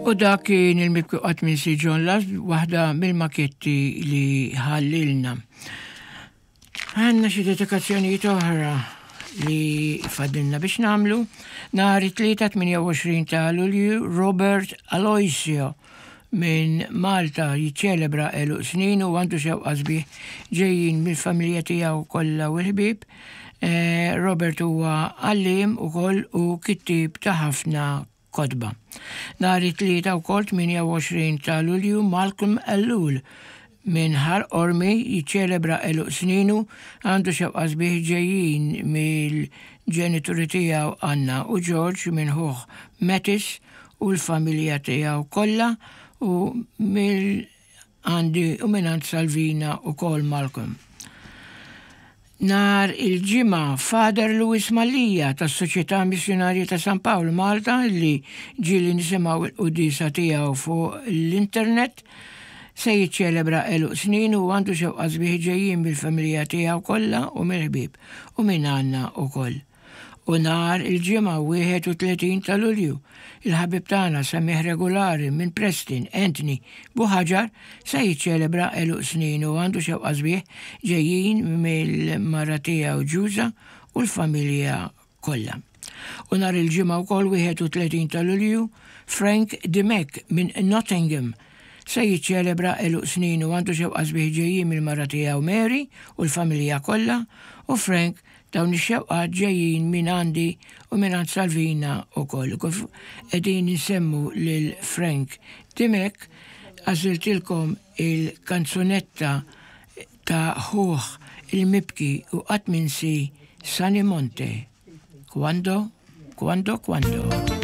U dak kien il-mibki qatt minsi John Last, waħda mill-maketti li ħallilna. Għanna xi dedikazzjonijiet oħra li fadilna biex namlu. Nhar it-Tlieta 28 ta' Lulju Robert Aloisio minn Malta jiċċelebra għeluq snin u għandu xewqa sbieħ ġejjin mill-familja tiegħu kollha u l-ħbieb. Eh, Robert huwa għalliem ukoll u kittieb ta' ħafna kotba. Nhar it-Tlieta wkoll 28 ta' Lulju Malcolm Ellul minn Ħal Qormi jiċċelebra għeluq sninu, għandu xewqa sbieħ ġejjin mill-ġenituri tiegħu Anna u George minn ħuh Mathis u l-familja tiegħu kollha u mill Għandi u mingħand Salvina ukoll Malcolm. Nhar il-Ġimgħa, Father Louis Mallia tas-Soċjetà Missjunarja ta' San Pawl Malta li ġieli nisimgħu l-quddiesa tiegħu fuq l-internet se jiċċelebra għeluq sninu u għandu xewqat sbieħ ġejjin mill-familja tiegħu kollha u mill-ħbieb u minn għandna ukoll. U nhar il-Ġimgħa 31 ta' Lulju, il-ħabib tagħna semmiegħ regulari minn Preston, Anthony Buhagiar, se jiċċelebra għeluq sninu u għandu xewqa sbieħ ġejjin mill-mara tiegħu Ġuża u l-familja kollha. U nhar il-Ġimgħa wkoll 31 ta' Lulju, Frank Dimech minn Nottingham se jiċċelebra għeluq sninu u għandu xewqa sbieħ ġejjin mill-mara tiegħu Mary u l-familja kollha u Frank Dawn ix-xewqat ġejjin minn għandi u mingħand Salvina wkoll. Kif qegħdin insemmu lil Frank Dimech, għażiltilkom il-kanzunetta ta' ħuh il-mibki u qatt minsi Sunny Monte, Quando, quando, quando.